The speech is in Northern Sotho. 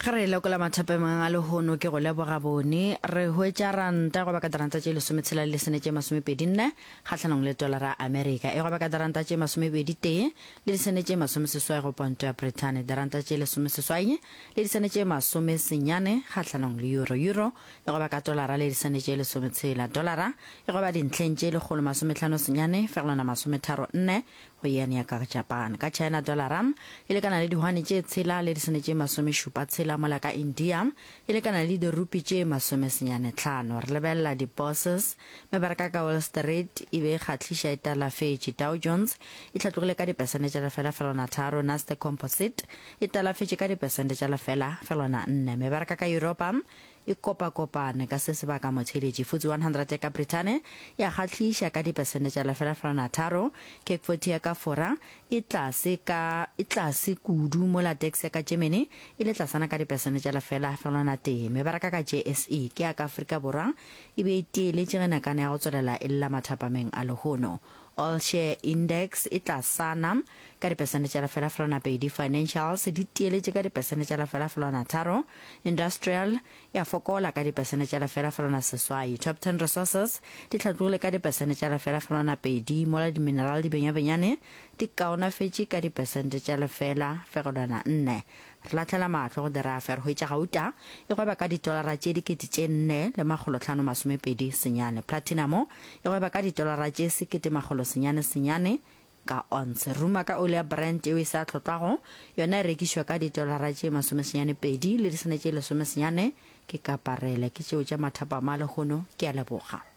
Ge re lekola mathapemang a lehono ke go leboga bone, re hwetša ranta e gweba ka diranta tše lesometshela le lesene tše masomepedi nne kgahlanong le tolara ya Amerika, e gweba ka diranta tše masomepedi tee le disene tše masomeseswai go ponto ya Brithani, diranta tše lesomeseswai le disene tše masomesenyane kgahlanong le euro, euro e gweba ka tolara le disene tše lesometshela, dolara e gweba dintlheng tše lekgolo masomehlano senyane fegelwana masometharo nne go yen ya ka Japan. Ka China dolara e lekana le dihwane tše tshela le disene tše masomešupa tshela, mola ka India e lekana le dirupi tše masomesenyane tlhano. Re lebelela di-bourses, mebaraka ka Wall Street e be e kgahliša e talafetše. Dow Jones e hlatlogile ka dipesente tša lefela felwana tharo, Nasdaq Composite e talafetše ka dipesente tša lefela felwana nne. Mebaraka ka Yuropa e kopakopane ka se sebaka motheeletši. FTSE 100 ya ka Brithane ya kgahliša ka dipesente tša lefela-felwana tharo, CAC 40 ya ka Fora e tlase ka e tlase kudu mola DAX ya ka Germany e le tlasana ka dipesente tša lefela-felwana tee. Mebaraka ka JSE ke ya ka Afrika Borwa e be e tieletše ge nakana ya go tswelela e lla mathapameng a lehono. All Share Index e tlasana ka dipesente tša lefela-felwana pedi, Financials di tieletše ka dipesente tša lefela-felwana tharo, Industrial ya fokola ka dipesente tša lefela-felwana seswai, Top Ten Resources di hlatlogile ka dipesente tša lefela-felwana pedi, mola di-mineral di benyabenyane di kaonafetše ka dipesente tša lefela-fegelwana nne. Re lahlela mahlo go dirafe, re hwetša gauta e gweba ka ditolara tše dikete tše nne le makgolotlhano masomepedi senyane. Platinamo e gweba ka ditolara tše sekete makgolo senyane senyane ka onse. Ruma ka oli ya Brent yeo e sa hlotlwago, yona e rekišwa ka ditolara tše masomesenyane pedi le disene tše lesomesenyane. Ke kaparele. Ke tšeo tša mathapama a lehono. Ke a leboga.